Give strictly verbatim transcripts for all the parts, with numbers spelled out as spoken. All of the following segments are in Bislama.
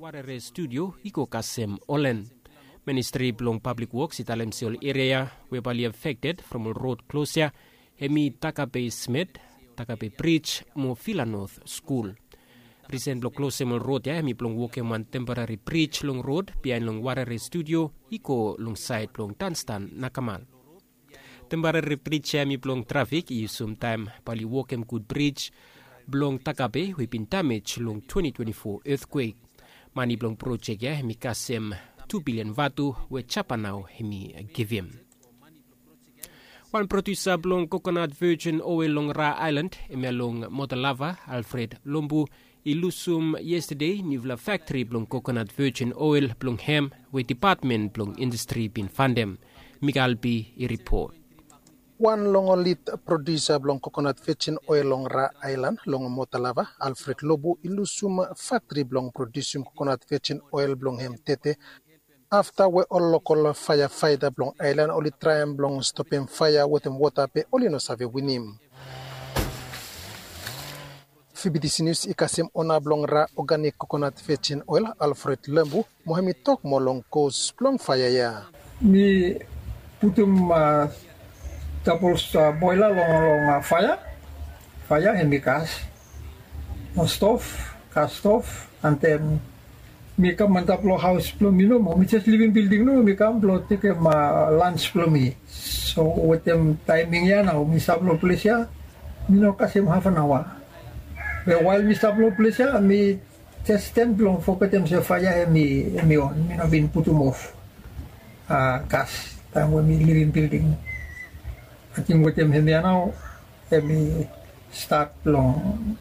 Warere studio i go kasem olen. Ministri blong pablik woks i talem se ol eria we bae oli afekted from ol rod klos ya, hem i Takape Smith, Takape Brij mo Villa North skul. Risen blong klosem ol rod ya hem i blong wokem wan temporari brij long rod biaen long Warere studio i go long saed blong Danstan na Kamal. Temporari brij ya hem i blong trafik i yusum taem bae oli wokem gud brij blong Takape we i bin damej long twenty twenty-four etkwek. Mane blong projek ya hem i kasem tu bilian vatu we Japa nao hem i givim. Wan produsa blong kokonat vejin oel long Ra Aelan, hemia long Motalava, Alfred Lombu, i lusum yestade niufala faktri blong kokonat vejin oel blong hem we dipatmen blong indastri i bin fandem. Mikael B i ripot. Wan long ol lid produsa blong kokonat vejin oel long Ra Aelan long Motalava, Alfred Lombu, i lusum faktri blong produsim kokonat vejin oel blong hem tete afta we ol lokol faeafaeta blong aelan oli traem blong stopem faea wetem wota be oli no save winim. Fibitisi Nius i kasem ona blong Ra Organik Kokonat Vejin Oel, Alfred Lombu, mo hem i tok moa long kos blong faea ya. Mi putum, a, dabol, a, boela long, long, a, faea. Faea hem i gas. Mo stov, gas stov, and then mi kam antap long haos blong mi nomo. Mi jes livim bilding nomo, mi kam blong tekem, a, lans blong mi. So wetem taeming ya nao mi stap long ples ya, mi no kasem hafanaoa. Be wael mi stap long ples ya, mi jes stem blong fogetem se faea hem i, hem i on. Mi no bin putum of, a, gas taem we mi livim bilding. Ating wetem hem ya nao hem i stat blong,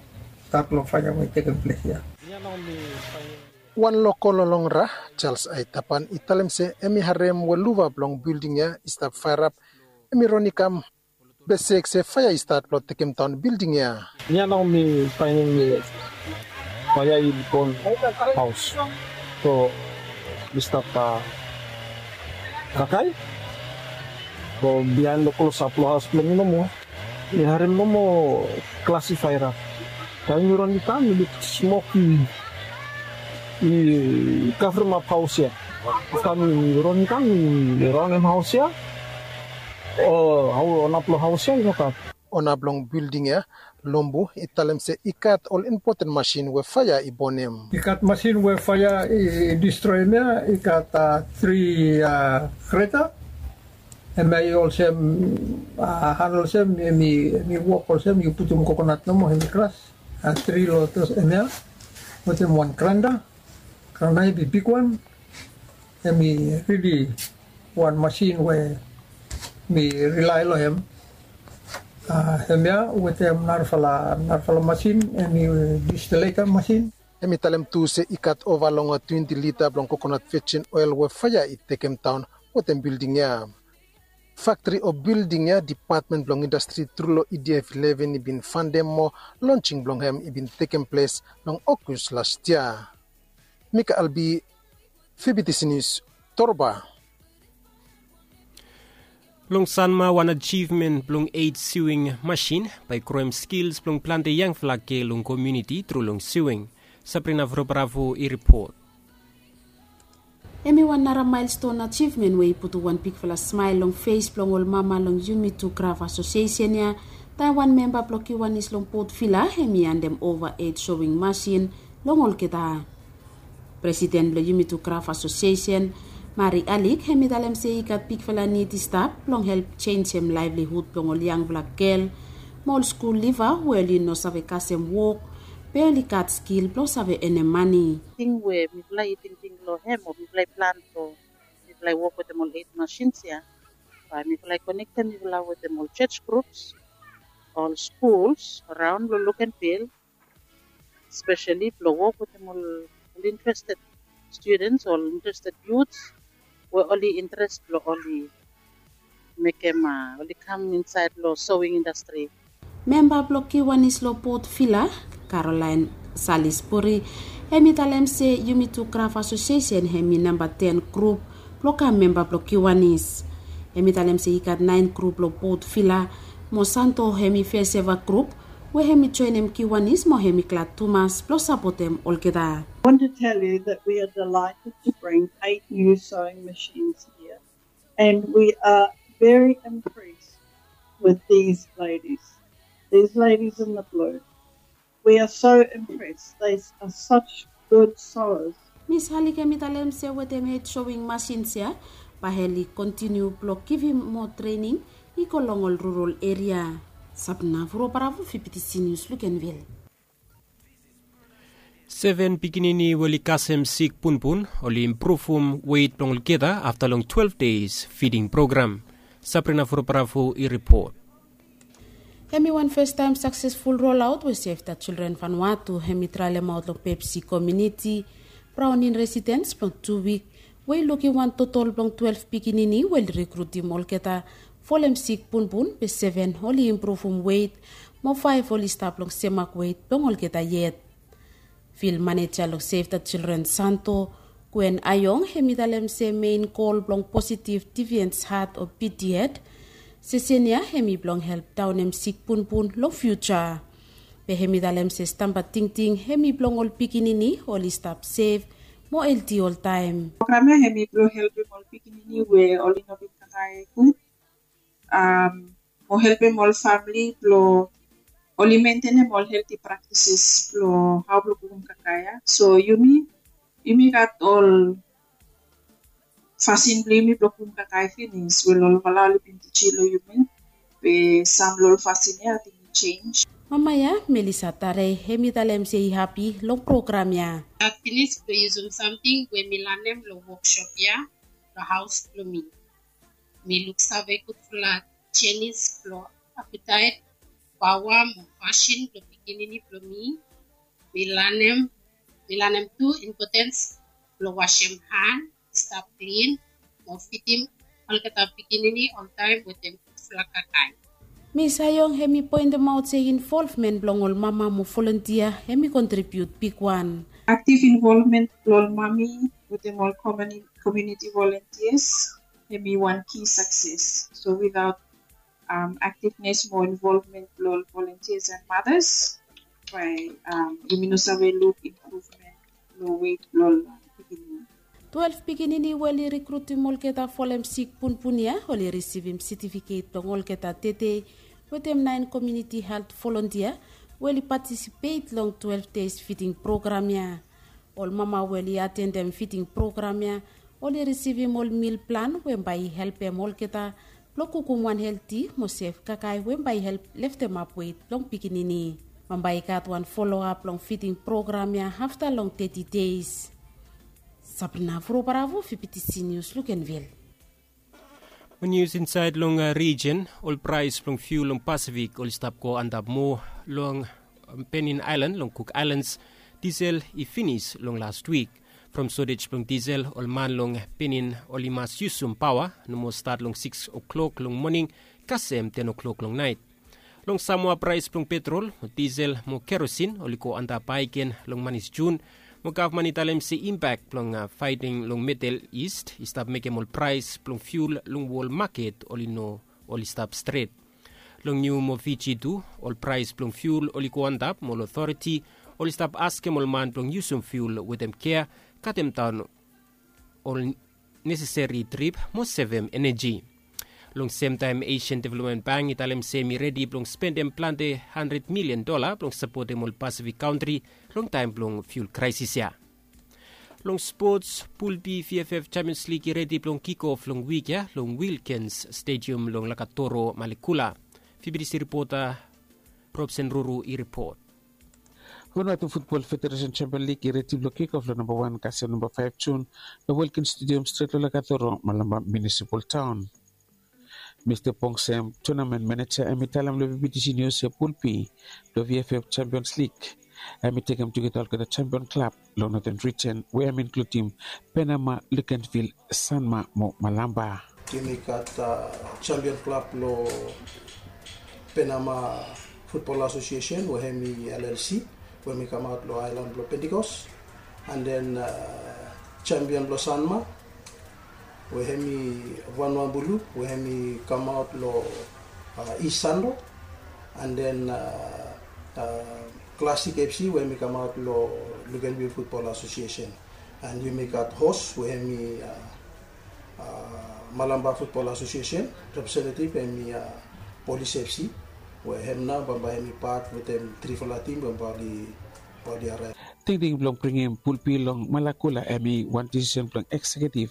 stat blong faea we i tekem ples ya. Wan lokol long Ra, Charles Aitapan, i talem se hem i harem we luva blong bilding ya i stap faerap, hem i ron i kam, be sek se faea i stat blong tekem daon bilding ya. Nia nao mi faenem faea i bon haos. So mi stap, a, kakae. So biaen long klosap long haos blong mi nomo, mi harem nomo klasifaera. Taem mi ron i kam, mi luk smok i, i kavremap haos ya. Afta mi ron i kam, mi raonem haos ya. O, hao ona blong haos ya i no gat. Ona blong bilding ya, Lombu, i talem se i gat ol impoten masin we faea i bonem. I gat masin we faea i, i distroem ya, i gat, a, tri, a, greta. Hemia i olsem, a, han olsem, hem i, hem i wok olsem yu putum kokonat nomo, hem i kras. A, tri lotos hemia, wetem wan granda, granda hem i bigwan, hem i rili wan masin we mi rilae long hem. A, hemia wetem narafala, narafala masin, hem i distileta masin. Hem i talem tu se i gat ova long twenti lita blong kokonat vejin oel we faea i tekem daon wetem bilding ya. Faktri o bilding ya, dipatmen blong indastri tru long E D F eleven i bin fandem mo lonsing blong hem i bin tekem ples long Ogos las yia. Mikael B, Fibitisi Nius, Torba. Long Sanma, wan ajivmen blong eit siwing masin bae i groem skils blong plante yangfala gel long komuniti tru long siwing. Sabrina Vrobravo i ripot. Hem i wan nara maelston ajivmen we i putum wan bigfala smael long fes blong ol mama long Yumi Tu Kraf Asosiesen ya, taem wan memba blong Kiwanis long Port Vila hem i handem ova eit sowing masin long olgeta. Presiden blong Yumi Tu Kraf Asosiesen, Mari Alik, hem i talem se i gat bigfala nid i stap blong help jenjem laevlihud blong ol yangfala gel mo ol skul liva we oli no save kasem wok be oli gat skil blong save enem mane. Ting we mifala i tingting long hem o mifala i plan blong mifala i wok wetem ol eit masins ya, bae mifala i konektem mifala wetem ol jos grups, ol skuls araon long luk and fil, speseli blong wok wetem ol, ol interested studens, ol interested yuts we oli interes blong oli mekem, a, oli kam insaed long sowing indastri. Memba blong Kiwanis long Port Vila, Caroline Salisbury, hem i talem se Yumi Tu Kraf Asosiesen hem i namba ten grup blong kam memba blong Kiwanis. Hem i talem se i gat naen grup long Port Vila, mo Santo hem i fes eva grup we hemi joenem Kiwanis mo hemi glad tumas blong sapotem olgeta. I want to tell you that we are delighted to bring eight new sewing machines here, and we are very impressed with these ladies. These ladies in the blue. We are so impressed. They are such good sewers. Mis Halik hemi talem se wetem hed sewing masins ya, bae heli kontiniu blong givim moa trening i go long ol rural eria. Sapna Vuro Bravo, Fibitisi Nius, Lukenvil. Seven pikinini we oli kasem sik punpun oli impruvum weit blong olgeta afta long twelve days fiding program. Sabrina Vuro Bravo i ripot. Hemi wan fastaem saksesful rolaot we Save the Children Vanuatu hemi traelemaot long Pepsi komuniti Browning residens blong tu wik, we i lukim wan totol blong twelve pikinini we oli rikrutim olgeta folem sik punpun, be seven oli impruvum weit, mo faef oli stap long semak weit blong olgeta yet. Fil maneja long Save the Children Santo, Gwen Ayong, hemi talem se mein gol blong positive deviance heart o P D head sesen ya hemi blong help daonem sik punpun long fiuja. Be hemi talem se stamba tingting hemi blong ol pikinini oli stap sef mo helti oltaem. Program ya hemi blong helpem ol pikinini we oli no bin kakae gud, mo helpem ol famili blong oli mentenem ol helti praktises blong hao blong kukum kakae ya. So yumi, yumi gat ol fasin blong yumi blong kukum kakae finis we ol olgeta oli bin tijim long yumi. Be sam long ol fasin ya ating i jenj. Mama ya, Melissa Tarei, hemi talem se i hapi long program ya. Gat finis blong yusum samting we mi lanem long woksop ya long haos blong mi. Mi luksave gudfala jenis blong apitaet, paoa mo fasin blong pikinini blong mi. Mi lanem, mi lanem tu impotens blong wasem han, stap klin, mo fidim olgeta pikinini oltaem wetem gudfala kakae. Mis Ayong hemi poentemaot se involvmen blong ol mama mo volontia hemi kontribiut bigwan. Aktiv involvmen blong ol mami wetem ol komuniti volontias hemi wan ki sakses. So without aktivnes mo involvmen blong ol volontias and matas, bae yumi no save luk impruvmen long weit blong ol pikinini. Twelve pikinini we oli rikrutim olgeta folem sik punpun ya oli risivim setifiket blong olgeta tede wetem naen komuniti helt volontia we oli patisipet long twelve days fiding program ya. Ol mama we oli atendem fiding program ya oli risivim ol mil plan we bae i helpem olgeta blong kukum wan helti mo sef kakae we bae i help leftemap weit blong pikinini. Bambae i gat wan foloap long fiding program ya afta long teti deis. Sabrina Vuro Bravo, Fibitisi Nius, Lukenvil. Nius insaed long rijen, ol praes blong fiul long Pasifik oli stap go antap moa long Penin Aelan long Kuk Aelans. Disel i finis long las wik. From sotej blong disel, ol man long Penin oli mas yusum paoa nomo stat long sikis klok long moning kasem ten klok long naet. Long Samoa praes blong petrol, disel mo kerosin oli go antap aegen long manis Jun, mo gavman i talem se impak blong faeting long Medel Ist i stap mekem ol praes blong fiul long wol maket oli no oli stap stret. Long niu mo Fiji tu, ol praes blong fiul oli go antap mo ol otoriti oli stap askem ol man blong yusum fiul wetem kea, katemdaon ol neseseri trip mo sevem eneji. Long semtaem Asian Development Bank i talem se hemi redi blong spendem plante handred milian dola blong sapotem ol Pasifik kantri long taem blong fiul kraesis ya. Long spots, Pul B VFF Champions League i redi blong kikof long wik ya long Wilkens Stadium long Lakatoro, Malekula. Fibidisi ripota Robson Ruru i ripot. Vanuatu Futbol Federesen Champion Lig i redi blong kikof long namba wan kasem namba faef Jun long Wilkens Stadium stret long Lakatoro, Malampa Munisipal Taon. Mista Pongsem, tonamen maneja, hemi talem long Fibidisi Nius se Pul B blong VFF Champions League hemi tekem tugeta olgeta champion klab long Noten Rijen we hemi inkludim Penama, Lukenvil, Sanma mo Malampa. Yumi gat champion klab long Penama Futbol Asosiesen we hemi LLC we hemi kamaot long aelan blong Pentikos, and then champion blong Sanma we hemi Vanua Bulu we hemi kamaot long East Sanlo, and then Klasik FC we hemi kamaot long Luganville Futbol Asosiesen. And yumi gat hos we hemi Malamba Futbol Asosiesen. Representetiv hemi Polis FC we hem nao bambae hemi pat wetem trifala tim bambae oli araev. Tingting blong bringim pulpi long Malakula hemi wan disisen blong ekseketiv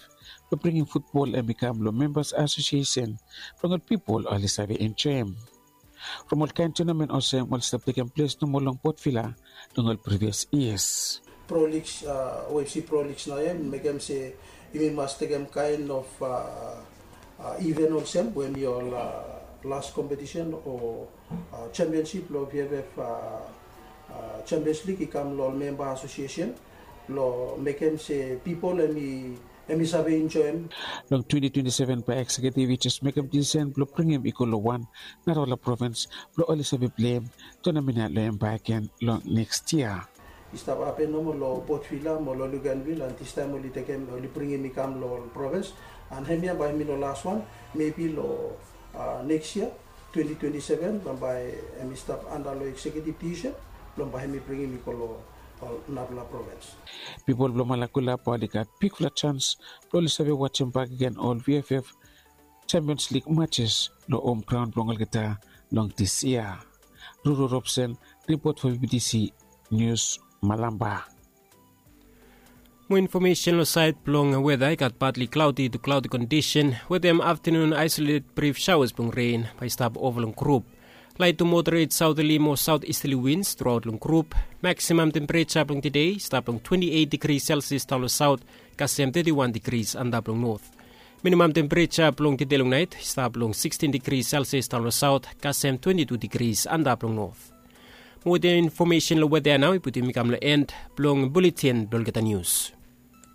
blong bringim futbol hemi kam long membas asosiesen blong ol pipol oli save enjoem. From ol kaen tunamen olsem oli stap tekem ples nomo long Potvila long ol privias yias. Pro Leagues, OFC Pro Leagues nao ya mekem se yumi mas tekem kaen of iven olsem we hemi ol las kompetisen o sempionsip long VFF Sempions Lig i kam long ol memba asosiesen blong mekem se pipol hemi save enjoem. Long twenti twenti seven bae ekseketiv i jes mekem disisen blong bringim i go long wan narafala provins blong oli save pleim tonamen ya long hem bakegen long neks yia. I stap hapen nomo long Potvila mo long Luganvil and distaem oli tekem oli bringim i kam long ol provins. And hemia bae hemi no laswan, mebi long neks yia twenti twenti seven bambae hemi stap anda long ekseketiv disisen blong bae hemi bringim i go long ol narafala provins. Pipol blong Malakula bae oli gat bigfala jans blong oli save wajem bakegen ol VFF Sempions Lig majes long hom graon blong olgeta long dis yia. Ruru Robson, ripot fo BBTC Nius, Malamba. Mo infomesen long saed blong weda i gat badli klaodi tu klaodi kondisen wetem aftenun aesoleted brif saoas blong ren bae i stap ova long grup. Laet tu moderet saoteli mo saotisteli wins truaot long grup. Maksimam tempereja blong tede i stap long twenti eit digri selsias daon long saot kasem teti wan digris antap long not. Minimam tempereja blong tede long naet i stap long sikstin digri selsias daon long saot kasem twenti tu digris antap long not. Mo wetem infomesen long weda ya nao i putum i kam long en blong buletin blong olgeta nius.